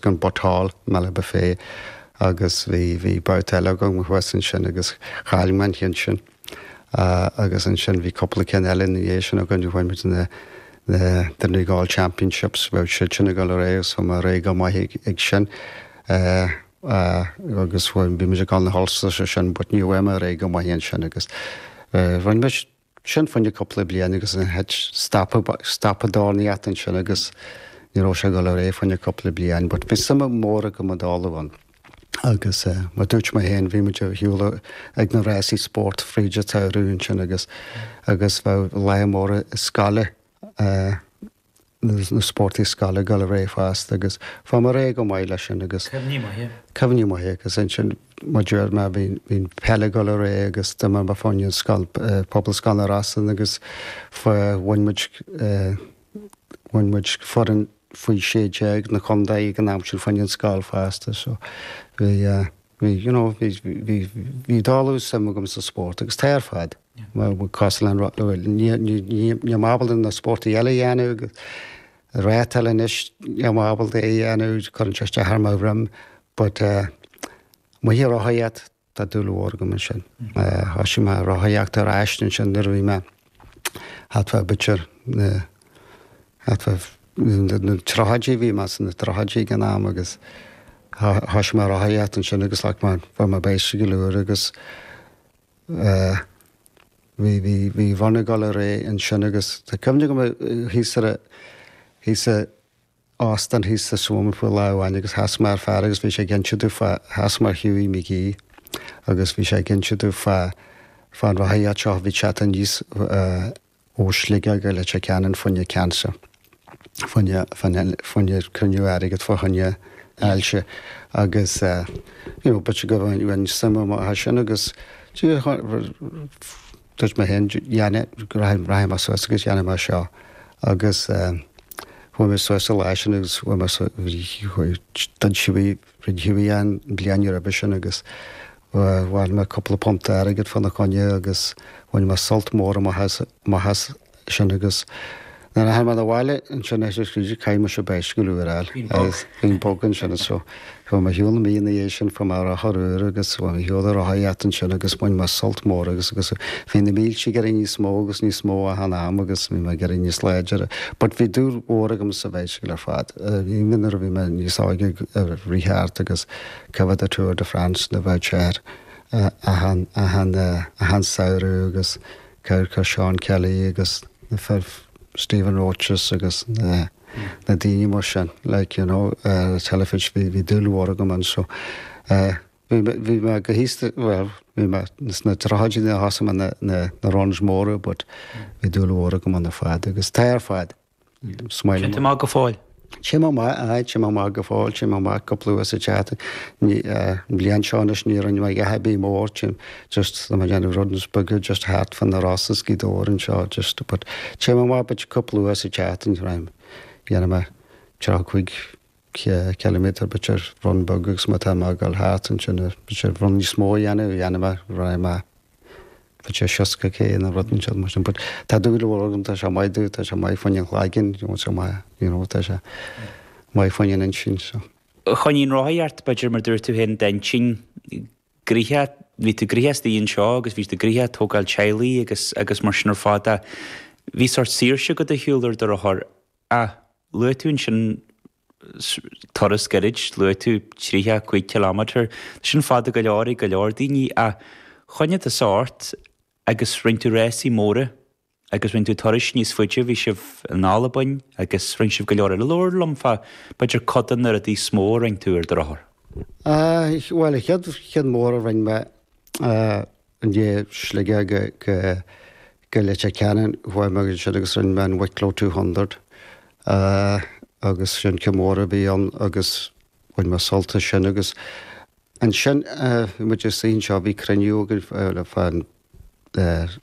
Go an Butt Hall i mBealach Bhé agus bhí bhí babhta eile agam thuas ansin agus chaill mé an ceann sin agus ansin bhí cúpla ceann eile ina dhiaidh sin againn bhain muid na na Donegal Championships bheadh siad sin ag dul ar aghaidh agus chuaigh mé ar aghaidh go maith ag ag sin agus bhí muid ag dul na hUlsters sin but ní bheidh mé ar aghaidh go maith ansin agus rinne muid sin fá choinne cúpla bliain agus ansin stop stop an dornálaíocht ansin agus ní raibh sé ag dul ar aghaidh fá choinne cúpla bliain but bhí suim mór agam i dála ann agus mar dúirt mé féin bhí muid ar shiúl ag na rásaí spóirt fríd an tsamhradh ansin agus agus bheadh lá mór scoile na spórtaí scoile ag dul ar aghaidh fosta agus fuair mé ar aghaidh go maith leis sin agus. Cuimhní maithe. Cuimhní maithe agus ansin mar deir mé bhí bhí an peil ag dul ar aghaidh agus d'imir mé fá choinne an scoil Pobalscoil na Rosann agus bhain muid bhain muid foireann faoi 16 na contae ag an am sin fá choinne an scoil fosta so bhí Bhí, you know, bhí, bhí, bhí dála suim agam sa spórt agus tá ar fad. Cosúil le an, ní, ní, ní, níl mé ábalta na spórtaí eile a dhéanamh agus rátáil anois, níl mé ábalta é a dhéanamh, cuireann sé isteach ar mo dhroim, but eh, amuigh ag rothaíocht, tá dúil mhór agam ansin. Thosaigh mé rothaíocht ar ais ansin nuair a bhí mé thart fá b'fhéidir na thart fá na tríochaidí, bhí mé sna tríochaidí ag an am agus thosaigh mé rothaíocht ansin agus like mé fuair mé bicycle úr agus eh bhí bhí bhí run ag dul ar aghaidh ansin agus tá cuimhne agam thíos ar a thíos a óstán thíos sa swimming pool lá amháin agus sheas mé ar fear agus bhí sé ag inse domh fá, sheas mé ar Hughie McGee agus bhí sé ag inse domh fá, fá an rothaíocht seo a bhí teacht aníos ó Shligeach go Leitir Ceanainn fá choinne cancer, fá choinne, fá choinne cruinniú airgead fá choinne ailse agus you know b'fhéidir go bhain suim amach as sin agus Dúirt mé féin, rachaidh mé suas agus dhéanfaidh mé seo. Agus chuaigh mé suas an lá sin agus chuaigh mé d'fhan Hughie, rinne Hughie an bliain roimhe sin agus bhain mé cúpla punt airgid fána choinne agus bhain mé sult mór amach as sin agus nuair a tháinig mé abhaile ansin caithfidh mise bicycle úr a fháil. Agus bhí an bug ansin so chuaigh mé ar shiúl mí ina dhiaidh sin fuair mé rothar úr agus chuaigh mé ar shiúl ag rothaíocht ansin agus bhain mé sult mór agus agus bhí na mílte ag éirí níos mó agus níos mó achan am agus bhí mé ag éirí níos láidre. But bhí dúil mhór agam sa bhicycle ar fad. Even nuair a bhí mé níos óige ag rith thart agus coimhéad the Tour de France na bheadh sé ar achan achan achan samhradh agus Amharc ar Sean Kelly agus na fir Stephen Roches agus na na daoine mar sin like you know ar an teilifís bhí bhí dúil mhór agam ann so eh bhí mé bhí mé go haosta bhuel bhí mé sna tríochaidí nuair a thosaigh mé na na na runs móra but bhí dúil mhór agam ann ar fad agus tá ar fad. Téann tú amach go fóill? Téim amach, aye, téim amach go fóill, téim amach cúpla uair sa tseachtain. Ní, an bhliain seo anois ní rinne mé a dhath ar bith mór, téim just, tá mé ag déanamh runs beaga just thart fá na Rosa is Gaoth Dobhair anseo just, but téim amach b'fhéidir cúpla uair sa tseachtain, dhéanfaidh mé 35 ciliméadar b'fhéidir run beag agus má tá mé ag dul thart ansin b'fhéidir run níos mó a dhéanamh, dhéanfaidh mé, raghaidh mé b'fhéidir 60 K nó rud inteacht mar sin but tá dúil mhór agam, tá sé maith domh, tá sé maith fá choinne an chlaigeann, you know, tá sé maith, you know, tá sé maith fá choinne an intinn so. Choinnigh an rothaíocht, b'fhéidir mar dúirt tú féin, d'intinn gnoitheach, bhí tú gnoitheach istigh anseo agus bhí tú gnoitheach ag tógáil teaghlaigh agus agus mar sin ar fad ach bhí sórt saoirse agat ar shiúl ar do rothar ach luaigh tú ansin turas gairid, luaigh tú 35 kilometre, sin fada go leor ag go leor daoine ach choinnigh tusa ort agus rinne tú rásaí móra agus rinne tú turais níos faide, bhí sibh in Albain agus rinne sibh go leor eile. Labhair liom fá b'fhéidir cuid de na rudaí is mó a rinne tú ar do rothar. Bhuel, an chéad cheann mór a rinne mé, I ndiaidh Sligeach go go Leitir Ceanainn chuaigh mé ansin agus rinne mé an Wicklow 200 agus sin ceann mór a bhí ann agus bhain mé sult as sin agus ansin bhí muid istigh anseo bhí cruinniú againn le fán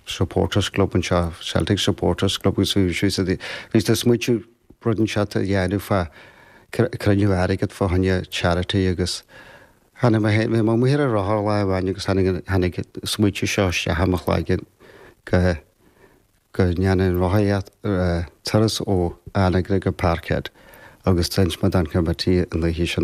supporters club anseo Celtic supporters club agus bhí siad bhí siad ag smaoitiú rud inteacht a dhéanamh fá cruinniú airgead fá choinne charity agus Tháinig mé féin, bhí mé amuigh ar an rothar lá amháin agus tháinig an, tháinig an smaoitiú seo isteach i mo chloigeann go, go ndéanfainn rothaíocht, turas ó Anagaire go Parkhead. Agus d'inis mé don committee an oíche sin.